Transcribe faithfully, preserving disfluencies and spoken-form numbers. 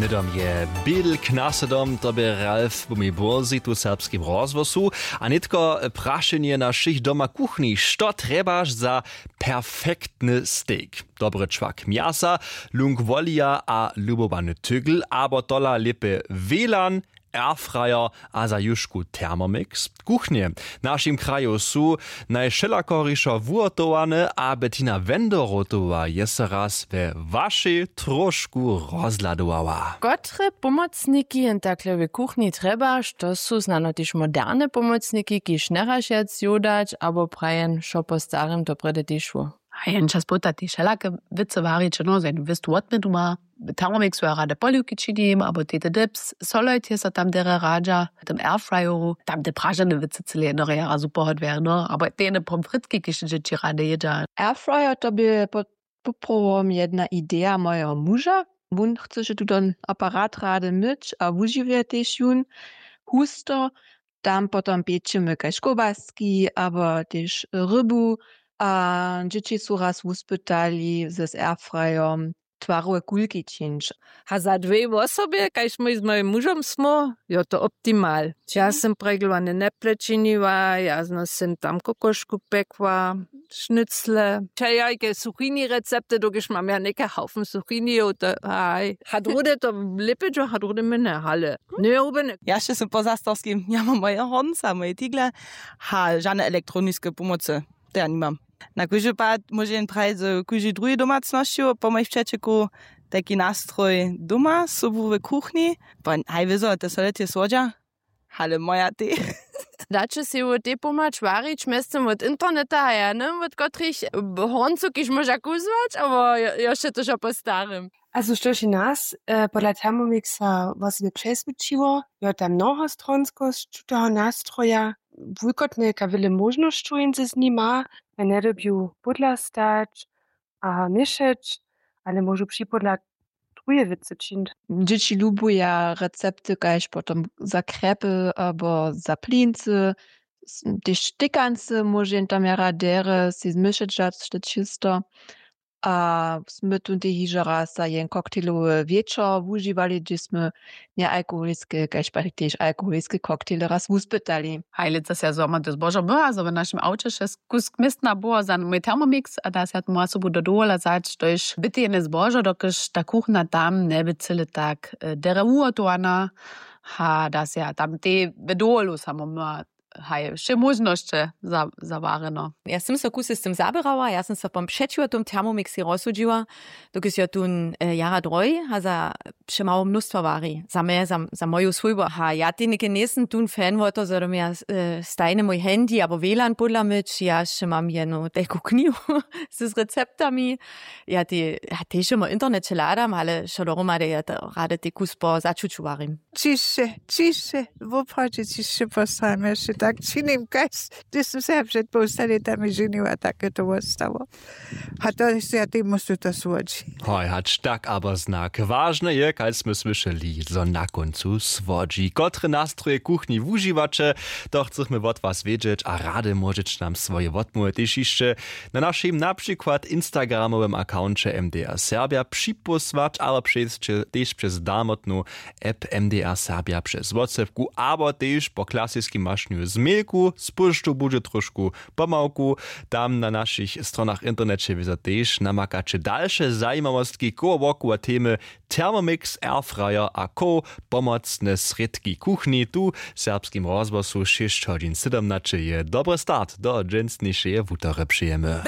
Hnydom je bědl k naslědom, to bě Ralf Bumibózy tu w Serbskim rozhłosu. A nětko prašenje na wšěch doma kuchni: što trjebaš za perfektny stejk? Dobry čwak mjasa, lunk wolija a lubowany tygl, abo tola lěpje wjelan, airfryer a za jušku Thermomix? Kuchnje w našim kraju su najwšelakorišo wuhotowane a Bettina Wendorotowa je so raz we wašej tróšku rozhladowała. Kotre pomocniki jen takle w kuchni trjebaš? To su snano tež moderne pomocniki, kiž njeraš wjac jodać abo prajen wšo po starym, to prjedy tež wo. A jen čas połta tež wšelake wěcy warić, no, za jednu wěstu wotměnu ma. W Thermomixu ja rady poliwki činim, abo tete dips, solojt je so tam derje radźa, w tym airfryeru tam te pražene wěcy cyle jednorje jara super hodwjerno, abo te jene pomfritki, kiž dźěći rady jědźa. Airfryer to bě pod poprawom jedna ideja mojeho muža. Wón chcyše tuton aparat rady myć a wužiwje tež jón husto. Tam potom pěčimy kaž kołbaski abo tež rybu. A dźěći su raz wuspytali z airfryom twarowe kulki čińć. A za dwě wosobje, kaž mój z mojim mužom smo, jo, to optimal. Ja sym preglowane neple činiła, ja no sym tam kokošku pekła, šnycle, čajajke, suchini recepty, dokelž mam ja něke haufen suchinijow, to haj. A druhdy to lěpidźo, a druhdy my ne, ale njerubene. Ja še sym po zastorskim, ja mam moje hornca, moje tigle, ha, žane elektroniske pomocy, to ja nimam. Na kóždy pad móže jen prajić, zo kóždy druhi domacnosći po mojich přećeku tajki nastroj doma sobu w kuchni. Pon haj wězo, te soletje słodźa, ale moja tej. Daće sej wot tej pomhać warić mjeztym wot interneta a ja nym wot kotrych horncow kiž móža kuzłać, abo jo- još je to wšo po starym? A so što ši nas, e, podla Thermomixa wosebje přeswědčiło, jo tam mnohostronskosć tutoho nastroja, wulkotnje ka wjele móžnosćow jen z nim ma, a njedyrbju pódla stać a měšeć, ale móžu připódla druhe wěcy čińć. Dźěći lubuja recepty kaž potom za krjepy abo za plincy, s- tež štykancy móže jen tam jara derje sej zmyšeć dać to čisto. A smy tón tej hižo raz za jen koktejlowy wječor wužiwali, hdźež smy njealkoholiske kaž pak tež alkoholiske koktejle raz wuspytali. Haj lětsa sej ja zo mam to zbožo myła, zo w našim awče wšo kusk městna było za mój Thermomix a da sej ja tomu sobu do dowola wzać, to je bytejne zbožo, dokelž ta kuchna tam njeby cyle tak, e, derje wuhotowana. A da sej ja tam tej w dowolu samo myła, haj wše móžnosće za- zawarjeno. Ja sym so kusy z tym zaběrała, ja sym so pom přećiwo tym Thermomixej rozsudźiła, dokelž jo tón, e, jara droj a za přemało mnóstwo wari za mje, za, za moju swójbu. A ja tej něke njejsym tón fan wo to, zo do mje, e, stajny mój handy abo wlan pódla myć, ja wšě mam jenu tajku knihu z receptami. Ja tej, ja tež wšě w interneće hladam, ale wšo dohromady ja to rady tej kus po začuću warim. Ćišće, ćišće, woprawdźe ćišće postajam, ja wšě tak činim, kaž hdyž sym se ja před połsta lětami ženiła, tak je to wostało. A to je, ja tej musu to słodźi. Hoj, hač tak abo znak. Wažne je, kaž smy słyšeli, zo na kóncu słodźi. Kotre nastroje kuchni wužiwaće, to chcemy wot was wědźeć a rady móžeće nam swoje wotmołwy tež hišće na našim na přikład Instagramowym akkounće M D R Serbja připósłać, abo přez, tež přez darmotnu app M D R Serbja přez WhatsAppku, abo tež po klasiskim mašenju z mailku, z poštu budźe trošku pomałku. Tam na našich stronach w interneće wězo tež namakaće dalše zajimawostki koło wokoło temy Thermomix, airfryer a co pomocne srědki kuchni. Tu w Serbskim rozhłosu šěsć hodźin sydomnaće je dobry start do dźensnišeje wutory přejemy.